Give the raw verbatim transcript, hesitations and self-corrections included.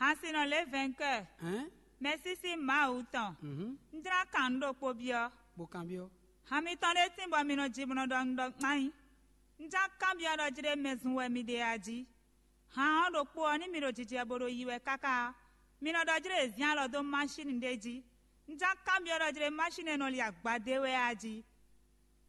Hansinɔ lě vɛnkɛ́, Hɛn? mɛsísí Mawu tɔn, Mhm. un jlá kan nǔ ɖokpó byɔ́. Bó kanbyɔ́. Han mitɔn ɖé tín bɔ mi nɔ ji bɔ nɔ ɖɔ un ɖɔ kpán nyi. Un jlá kanbyɔ́ ɖɔ jlé mɛ zun wɛ mi ɖe a jí. Han ɔ́ ɖokpó ɔ́, ní mi ɖo jijɛ bo ɖo yi wɛ káká ɔ́, mi nɔ ɖɔ jlé è zín alɔ dó másin ɖé jí. Un jlá kanbyɔ́ ɖɔ jlé másin e nɔ li agbadé wɛ a jí.